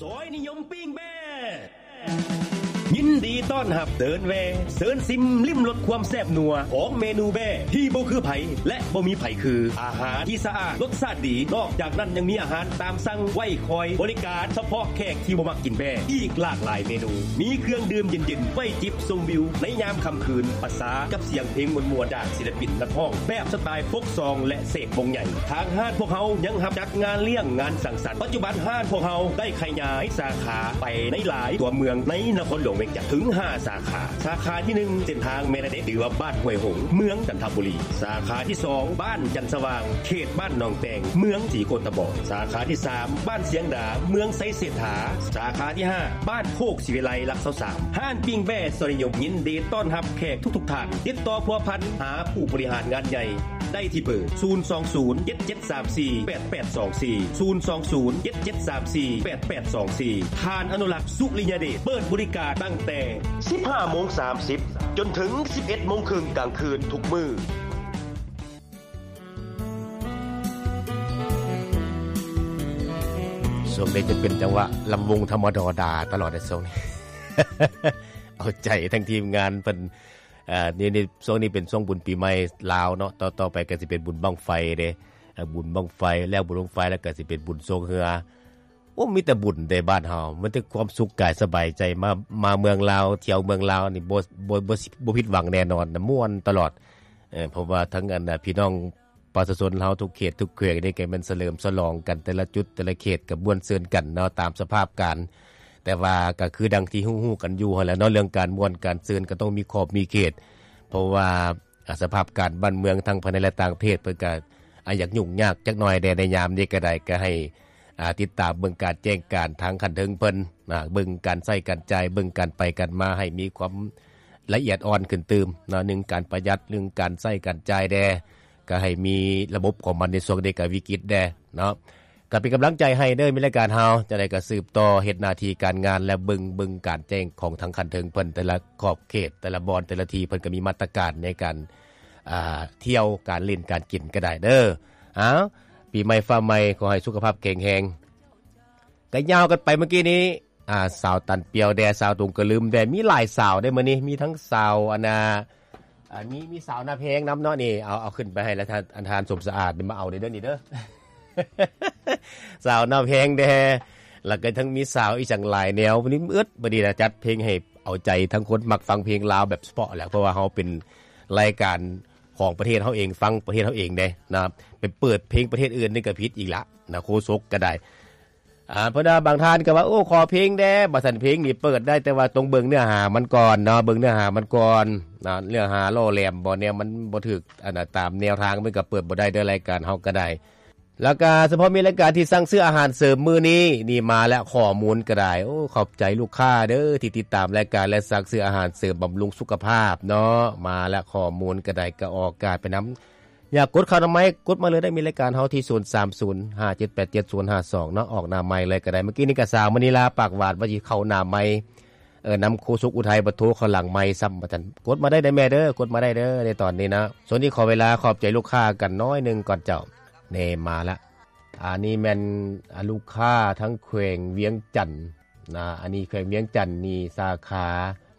ຊອຍນິຍົມປີ້ງແບ້ ຍິນດີຕ້ອນຮັບເດີນແວ່ ເຊີນຊິມລິມລົດຄວາມແຊບນົວຂອງເມນູແບ້ທີ່ບໍ່ຄືໃຜ ແລະ ບໍ່ມີໃຜຄື ອາຫານທີ່ສະອາດ ລົດຊາດດີ ນອກຈາກນັ້ນຍັງມີອາຫານຕາມສັ່ງໄວ້ຄອຍບໍລິການສະເພາະແຂກທີ່ບໍ່ມັກກິນແບ້ ອີກຫຼາກຫຼາຍເມນູ ມີເຄື່ອງດື່ມເຢັນໆ ໄວ້ຈິບຊົມວິວໃນຍາມຄ່ຳຄືນ ປະສານກັບສຽງເພງມ່ວນໆ ຈາກສິລະປິນນັກຮ້ອງແບບສະຕາຍໂຟກຊອງ ແລະ ເສກວົງໃຫຍ່. ທາງຮ້ານພວກເຮົາຍັງຮັບຈັດງານລ້ຽງງານສັງສັນ. ປັດຈຸບັນຮ້ານພວກເຮົາໄດ້ຂະຫຍາຍສາຂາໄປໃນຫຼາຍຕົວເມືອງໃນນະຄອນຫຼວງວຽງຈັນເຖິງຫ້າສາຂາ. ສາຂາທີໜຶ່ງ ເສັ້ນທາງແມ່ນາເດັດ ຫຼືວ່າບ້ານຫ້ວຍຫົງ ເມືອງຈັນທະບູລີ. ສາຂາທີສອງ ບ້ານຈັນສະຫວ່າງ ເຂດບ້ານໜອງແຕງ ເມືອງສີໂຄດຕະບອງ. ສາຂາທີສາມ ບ້ານຊຽງດາ ເມືອງໄຊເສດຖາ. ສາຂາທີຫ້າ ບ້ານໂຄກສີວິໄລ ຫຼັກຊາວສາມ. ຮ້ານປີ້ງແບ້ຊອຍນິຍົມ ຍິນດີຕ້ອນຮັບແຂກທຸກໆທ່ານ. ຕິດຕໍ່ພົວພັນຫາຜູ້ບໍລິຫານງານໃຫຍ່ ໄດ້ທີ່ເບີ ສູນສອງສູນ ເຈັດເຈັດສາມສີ່ ແປດແປດສອງສີ່ ສູນສອງສູນ ເຈັດເຈັດສາມສີ່ ແປດແປດສອງສີ່. ທ່ານອະນຸລັກ ສຸລິຍະເດດ ເປີດບໍລິການຕັ້ງແຕ່ສິບຫ້າໂມງສາມສິບ ຈົນເຖິງສິບເອັດໂມງເຄິ່ງກາງຄືນທຸກມື້. ຊ່ວງນີ້ຈະເປັນຈັງຫວະລຳວົງທຳມະດອດາຕະຫຼອດໃນຊ່ວງນີ້ ເອົາໃຈທັງທີມງານເພິ່ນ. ເອີ ນີ້ ນີ້ ຊ່ວງນີ້ເປັນຊ່ວງບຸນປີໃໝ່ລາວເນາະ ຕໍ່ ຕໍ່ໄປກໍຊິເປັນບຸນບັ້ງໄຟເດ້ ເອີ ບຸນບັ້ງໄຟ ແລ້ວບຸນບັ້ງໄຟແລ້ວກໍຊິເປັນບຸນຊ່ວງເຮືອ. ໂອ້ ມີແຕ່ບຸນເດ້ບ້ານເຮົາ ມີແຕ່ຄວາມສຸກກາຍສະບາຍໃຈ ມາ ມາເມືອງລາວ ທ່ຽວເມືອງລາວນີ້ ບໍ່ ບໍ່ ບໍ່ ບໍ່ຜິດຫວັງແນ່ນອນ ມ່ວນຕະຫຼອດ. ເອີ ເພາະວ່າທັງອັນ ອາ ພີ່ນ້ອງ ປະຊາຊົນເຮົາທຸກເຂດທຸກແຂວງນີ້ກໍແມ່ນສະເຫຼີມສະຫຼອງກັນ ແຕ່ລະຈຸດແຕ່ລະເຂດກໍມ່ວນຊື່ນກັນເນາະ ຕາມສະພາບການ. ແຕ່ວ່າກໍຄືດັ່ງທີ່ຮູ້ໆກັນຢູ່ຫັ້ນແຫຼະເນາະ ເລື່ອງການມ່ວນການຊື່ນກໍຕ້ອງມີຂອບມີເຂດ ເພາະວ່າ ອາ ສະພາບການບ້ານເມືອງທັງພາຍໃນ ແລະ ຕ່າງປະເທດ ເພິ່ນກໍ ອາ ຢາກຫຍຸ້ງຍາກຈັກໜ້ອຍແດ່ໃນຍາມນີ້ກໍໄດ້ ກໍໃຫ້ ອາ ຕິດຕາມເບິ່ງການແຈ້ງການທາງຂັ້ນເທິງເພິ່ນນະ ເບິ່ງການໃຊ້ການຈ່າຍ ເບິ່ງການໄປການມາໃຫ້ມີຄວາມລະອຽດອ່ອນຂຶ້ນຕື່ມເນາະ ໜຶ່ງການປະຢັດ ເລື່ອງການໃຊ້ການຈ່າຍແດ່ ກໍໃຫ້ມີລະບົບຂອງມັນໃນຊ່ວງນີ້ກໍວິກິດແດ່ເນາະ. ກໍເປັນກຳລັງໃຈໃຫ້ເດີ ມີລາຍການເຮົາ ຈັ່ງໃດກໍສືບຕໍ່ເຮັດໜ້າທີ່ການງານ ແລະ ເບິ່ງ ເບິ່ງການແຈ້ງຂອງທາງຂັ້ນເທິງເພິ່ນ ແຕ່ລະຂອບເຂດ ແຕ່ລະບ່ອນ ແຕ່ລະທີ່ ເພິ່ນກໍມີມາດຕະການໃນການ ອ່າ ທ່ຽວ ການຫຼິ້ນ ການກິນກໍໄດ້ເດີ. ອ້າວ ປີໃໝ່ຟ້າໃໝ່ ຂໍໃຫ້ສຸຂະພາບແຂງແຮງ. ກໍຍາວກັນໄປເມື່ອກີ້ນີ້ ອ່າ ສາວຕັນປຽວແດ່ ສາວຕົງກະລຶມແດ່ ມີຫຼາຍສາວເດ້ມື້ນີ້ ມີທັງສາວ ອັນນ່າ ອ່າ ມີ ມີສາວໜ້າແພງນຳເນາະ ນີ້ ເອົາ ເອົາຂຶ້ນໄປໃຫ້ລະທ່ານ ອັນທ່ານສົມສະອາດນີ້ມາເອົາເດີ ເດີນີ້ເດີ ສາວໜ້າແພງແດ່ ແລ້ວກໍທັງມີສາວອີ່ຫຍັງຫຼາຍແນວ ມື້ນີ້ເອີດ ບາດນີ້ລະຈັດເພງໃຫ້ເອົາໃຈທັງຄົນມັກຟັງເພງລາວແບບສະເພາະແຫຼະ ເພາະວ່າເຮົາເປັນລາຍການຂອງປະເທດເຮົາເອງ ຟັງປະເທດເຮົາເອງເດ້ນະ ໄປເປີດເພງປະເທດອື່ນນີ້ກໍຜິດອີກລະນະ ໂຄສົກກໍໄດ້. ອ່າ ເພາະວ່າບາງທ່ານກໍວ່າ ໂອ້ ຂໍເພງແດ່ ວ່າຊັ້ນ ເພງນີ້ເປີດໄດ້ ແຕ່ວ່າຕ້ອງເບິ່ງເນື້ອຫາມັນກ່ອນເນາະ ເບິ່ງເນື້ອຫາມັນກ່ອນນະ ເນື້ອຫາຫຼໍ່ແຫຼມບໍ່ ແນວມັນບໍ່ຖືກ ອັນນ່າ ຕາມແນວທາງ ມັນກໍເປີດບໍ່ໄດ້ເດີ ລາຍການເຮົາກໍໄດ້. ແລ້ວກໍສະເພາະມີລາຍການທີ່ສັ່ງຊື້ອາຫານເສີມມື້ນີ້ ນີ້ມາແລ້ວ ຂໍ້ມູນກໍໄດ້ ໂອ້ ຂອບໃຈລູກຄ້າເດີ ທີ່ຕິດຕາມລາຍການ ແລະ ສັ່ງຊື້ອາຫານເສີມບຳລຸງສຸຂະພາບເນາະ ມາແລ້ວ ຂໍ້ມູນກໍໄດ້ ກໍອອກອາກາດໄປນຳ ຢາກກົດເຂົ້ານາໄມ ກົດມາເລີຍໄດ້ ມີລາຍການເຮົາທີ່ ສູນສາມສູນ ຫ້າເຈັດແປດເຈັດ ສູນຫ້າສອງເນາະ ອອກໜ້າໄມເລີຍກໍໄດ້. ເມື່ອກີ້ນີ້ກໍສາວມະນີລາປາກຫວານວ່າຊິເຂົ້າໜ້າໄມ ເອີ ນຳໂຄສົກອຸໄທ ບັດໂທເຂົ້າຫຼັງໄມຊ້ຳ ວ່າຊັ້ນ. ກົດມາໄດ້ເດີແມ່ເດີ ກົດມາໄດ້ເດີ ໃນຕອນນີ້ນະ. ຊ່ວງນີ້ຂໍເວລາຂອບໃຈລູກຄ້າກັນໜ້ອຍໜຶ່ງກ່ອນເຈົ້າ. ແນ່ ມາລະ. ອັນນີ້ແມ່ນ ອາ ລູກຄ້າທາງແຂວງວຽງຈັນນະ ອັນນີ້ແຂວງວຽງຈັນນີ້ ສາຂາ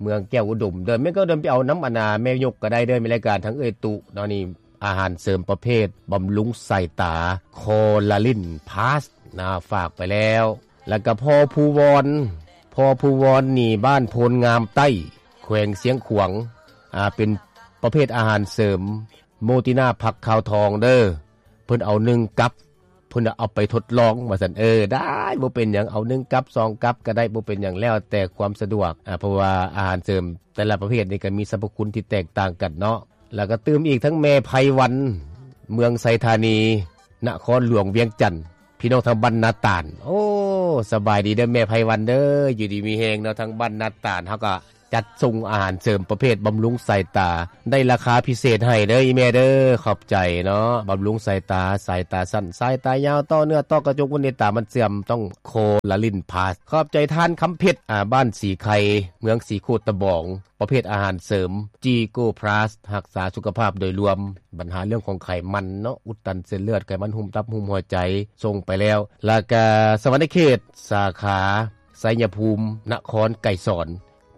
ເມືອງແກ້ວອຸດົມເດີ. ແມ່ນ ແກ້ວອຸດົມໄປເອົານຳ ອັນນ່າ ແມ່ຍົກກໍໄດ້ເດີ ມີລາຍການທາງເອື້ອຍຕຸເນາະ ນີ້ ອາຫານເສີມປະເພດບຳລຸງສາຍຕາ ຄໍລາລິນພລັສນະ ຝາກໄປແລ້ວ. ແລ້ວກໍພໍ່ພູວອນ ພໍ່ພູວອນນີ້ ບ້ານໂພນງາມໃຕ້ ແຂວງຊຽງຂວາງ ອາ ເປັນປະເພດອາຫານເສີມໂມຕິນາຜັກຂາວທອງເດີ ເພິ່ນເອົາໜຶ່ງກັບ ເພິ່ນວ່າເອົາໄປທົດລອງວ່າຊັ້ນ. ເອີ ໄດ້ ບໍ່ເປັນຫຍັງ ເອົາໜຶ່ງກັບ ສອງກັບກໍໄດ້ ບໍ່ເປັນຫຍັງ ແລ້ວແຕ່ຄວາມສະດວກ ອາ ເພາະວ່າອາຫານເສີມແຕ່ລະປະເພດນີ້ກໍມີສັບພະຄຸນທີ່ແຕກຕ່າງກັນເນາະ. ແລ້ວກໍຕື່ມອີກທັງແມ່ໄພວັນ ເມືອງໄຊທານີ ນະຄອນຫຼວງວຽງຈັນ ພີ່ນ້ອງທາງບ້ານນາຕານ. ໂອ້ ສະບາຍດີເດີແມ່ໄພວັນເດີ ຢູ່ດີມີແຮງເນາະ ທາງບ້ານນາຕານ ເຮົາກໍ ຈັດສົ່ງອາຫານເສີມປະເພດບຳລຸງສາຍຕາ ໄດ້ລາຄາພິເສດໃຫ້ເດີອີ່ແມ່ເດີ. ຂອບໃຈເນາະ. ບຳລຸງສາຍຕາ, ສາຍຕາສັ້ນ, ສາຍຕາຍາວ, ຕໍ່ເນື້ອ, ຕໍ່ກະຈົກ, ເວັນເນຕາ, ມັນເຊື່ອມ, ຕ້ອງໂຄລາລິນພລັສ. ຂອບໃຈທ່ານຄຳເພັດ, ອາ, ບ້ານສີໄຄ, ເມືອງສີໂຄດຕະບອງ. ປະເພດອາຫານເສີມ ຈີໂກພລັສ ຮັກສາສຸຂະພາບໂດຍລວມ, ບັນຫາເລື່ອງຂອງໄຂມັນເນາະ, ອຸດຕັນເສັ້ນເລືອດ, ໄຂມັນຫຸ້ມຕັບ, ຫຸ້ມຫົວໃຈ, ສົ່ງໄປແລ້ວ. ແລ້ວກະສະຫວັນນະເຂດ ສາຂາໄຊຍະພູມ, ນະຄອນໄກສອນ,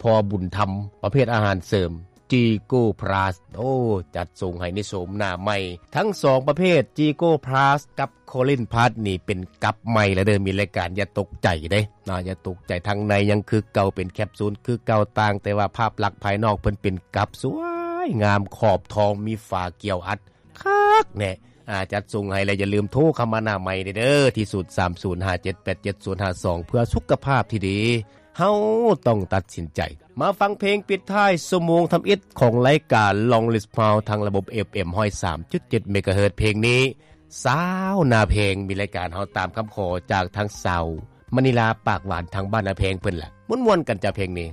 ພໍ່ບຸນທຳ, ປະເພດອາຫານເສີມ ຈີໂກພລັສ. ໂອ້ ຈັດສົ່ງໃຫ້ໃນໂສມໜ້າໃໝ່ ທັງສອງປະເພດ ຈີໂກພລັສ ກັບ ໂຄລິນພລັສນີ້ເປັນກັບໃໝ່ແລ້ວເດີ ມີລາຍການ ຢ່າຕົກໃຈເດ້ນະ, ຢ່າຕົກໃຈ. ທາງໃນຍັງຄືເກົ່າ ເປັນແຄບຊູນຄືເກົ່າ, ຕ່າງແຕ່ວ່າພາບລັກພາຍນອກເພິ່ນເປັນກັບ ສວຍງາມ ຂອບທອງ ມີຝາກຽວອັດ ຄັກແນ່. ອາ ຈັດສົ່ງໃຫ້ ແລະ ຢ່າລືມໂທເຂົ້າມາໜ້າໃໝ່ເດີ ທີ່ ສູນສາມສູນຫ້າເຈັດແປດເຈັດສູນຫ້າສອງ ເພື່ອສຸຂະພາບທີ່ດີ. ເຮົາຕ້ອງຕັດສິນໃຈ. ມາຟັງເພງປິດທ້າຍຊົ່ວໂມງທຳອິດຂອງລາຍການ Long List Sound ທາງລະບົບ ເອັຟເອັມ ຮ້ອຍສາມຈຸດເຈັດ ເມກາເຮີດ. ເພງນີ້ ຊາວໜ້າເພງ ມີລາຍການເຮົາຕາມຄຳຂໍຈາກທາງສາວມະນີລາ ປາກຫວານ ທາງບ້ານນາແພງເພິ່ນລະ. ມ່ວນໆກັນຈ້າເພງນີ້.